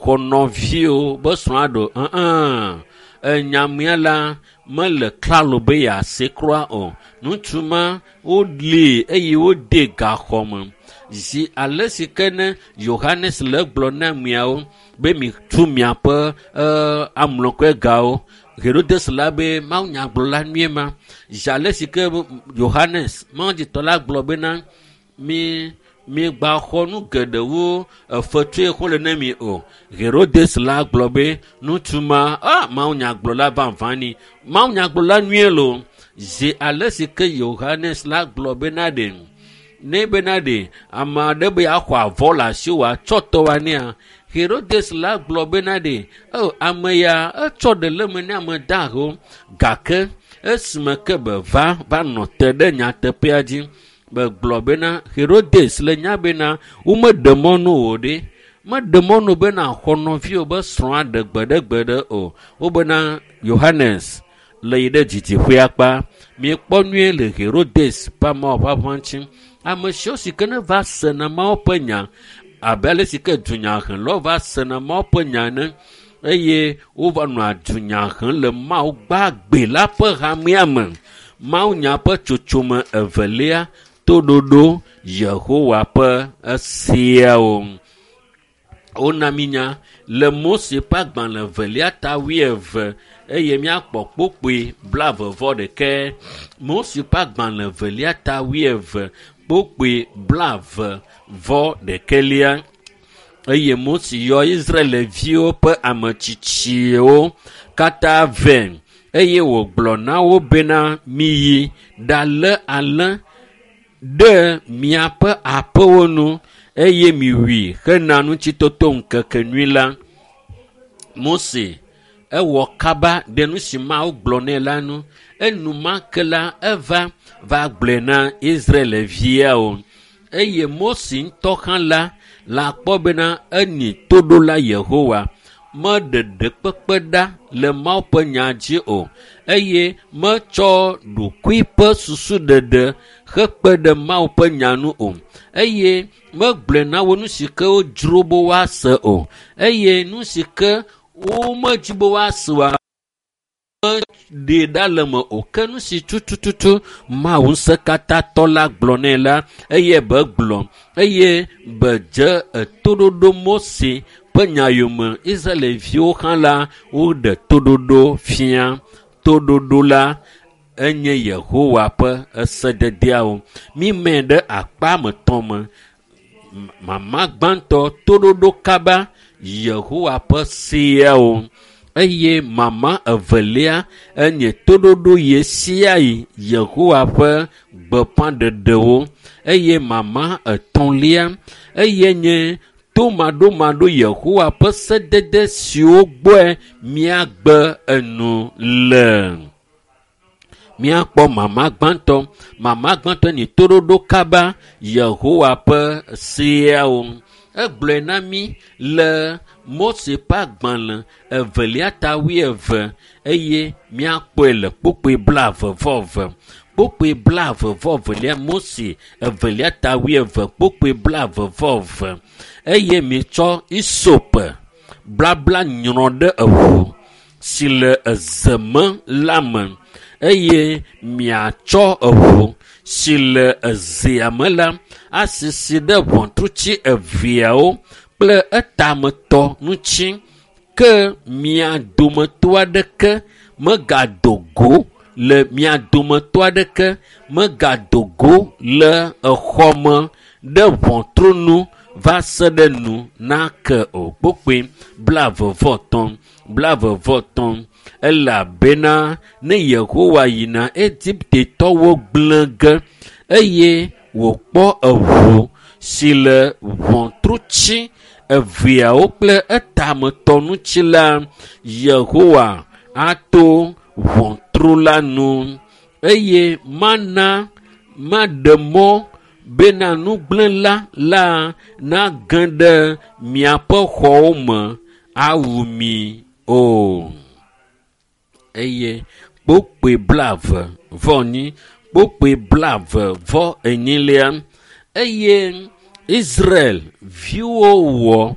xɔ nɔviwo be srɔ̃a ɖo ẽe enyamia la mele klalo be yease kura o. Ŋutsu ma wolée eye wodee gaxɔ me. Zi ale si ke ne Yohanes le egblɔ na miawo be mitu miaƒe amlɔkɔe gawo. Herodes la be mawunyagblɔla nyuie ma. Zi ale si ke Yohanes mawudzitɔ la gblɔ bena mi migba xɔ nu geɖewo efetue xɔ le ne mi o. Herodes la gblɔ be ŋutsu ma ah mawunyagblɔla vavã ni. Mawunyagblɔla nyuie lo. Zi ale si ke Yohanes la gblɔ bena ɖe ne bena ɖe ame aɖe be yeaxɔ avɔ le asi wòatsɔ tɔwa nea Herodes la gblɔ bena ɖe o ame ya etsɔ ɖe le me ne ame dahewo gake esime ke be va va nɔ te ɖe nyateƒea dzi be gblɔ bena Herodes le nya bena womeɖe mɔ nu o ɖe meɖe mɔ nu bena xɔ nɔviwo be srɔ̃a ɖe gbeɖegbeɖe o wobena Yohanes le yi ɖe didiƒea kpa miekpɔ nyuie le Herodes ƒe amewo ƒe aʋa ŋuti ame siwo si ke ne va sena Mawu ƒe nya abe ale si ke dunyahelawo va sena Mawu ƒe nya ene eye wova nɔa dunya hem le Mawu gbagbe la ƒe hamea me. Mawunya ƒe tsotsome evelia toɖoɖo Yehowa ƒe eseawo. Wona mi nya le Mose ƒe agbalẽ evelia ta wuieve eye míakpɔ kpokpoe blaeve vɔ ɖekɛ. Mose ƒe agbalẽ evelia ta wuieve kpokpoe blaeve vɔ ɖekɛlia. Eye Mose yɔ Israelviwo ƒe ametsitsiwo katã vɛ eye wògblɔ na wo bena miyi ɖalé alẽ ɖe miaƒe aƒewo nu eye miwui hena ŋutitoto ŋkekenyui la. Mose ewɔ kaba ɖe nu si Mawu gblɔ nɛ la nu. Enumake la eva va gblɔe na Israelviawo eye Mose ŋutɔ hã la la kpɔ bena enyi toɖola Yehowa meɖe ɖekpekpe ɖa le Mawu ƒe nya dzi o eye metsɔ ɖokui ƒe susuɖeɖe hekpe ɖe Mawu ƒe nya nu o eye megblɔe na wo nu si ke wodzro be woase o eye nu si ke womedzi be woase oa meɖee ɖa le me o ke nu si tutututu Mawu ŋusẽkatãtɔ la gblɔ nɛ la eye be gblɔ eye be dze etoɖoɖo Mose ƒe nya yome Israelviwo hã la woɖe toɖoɖo fia. Toɖoɖo la enye Yehowa ƒe esededeawo. Mimɛ ɖe akpa me tɔ̃ me. Mama gbãtɔ toɖoɖo kaba Yehowa ƒe seawo eye mama evelia enye toɖoɖo ɣe sia ɣi Yehowa ƒe gbeƒãɖeɖewo eye mama etɔ̃lia eye nye tomaɖomaɖo Yehowa ƒe sedede siwo gbɔe míagbe enu le. Míakpɔ mama gbãtɔ. Mama gbãtɔ nye toɖoɖo kaba Yehowa ƒe seawo. Egblɔe na mí le Mose ƒe agbalẽ evelia ta wuieve eye míakpɔe le kpukpui blaeve vɔ eve. Kpukpui blaeve vɔ evelia Mose evelia ta wuieve kpukpui blaeve vɔ eve eye mitsɔ isope blabla nyrɔ ɖe eʋu si le eze me la me eye miatsɔ eʋu si le ezea me la asisi ɖe ʋɔtruti eveawo kple etametɔ ŋuti ke mia dometɔ aɖeke megado go le mia dometɔ aɖeke megado go le exɔ me ɖe ʋɔtru nu va se ɖe nu nake o. Kpokpoe blaeve vɔ etɔ̃ blaeve vɔ etɔ̃ elabena ne Yehowa yina Egiptetɔwo gblẽ ge eye wòkpɔ eʋu si le ʋɔtruti eveawo kple etametɔ ŋuti la Yehowa ato ʋɔtru la nu eye mana maɖe mɔ bena nugblẽla la nage ɖe miaƒe xɔwo me awu mi o. Eye kpokpoe blaeve vɔ enyi kpokpoe blaeve vɔ enyilia eye Israelviwo wɔ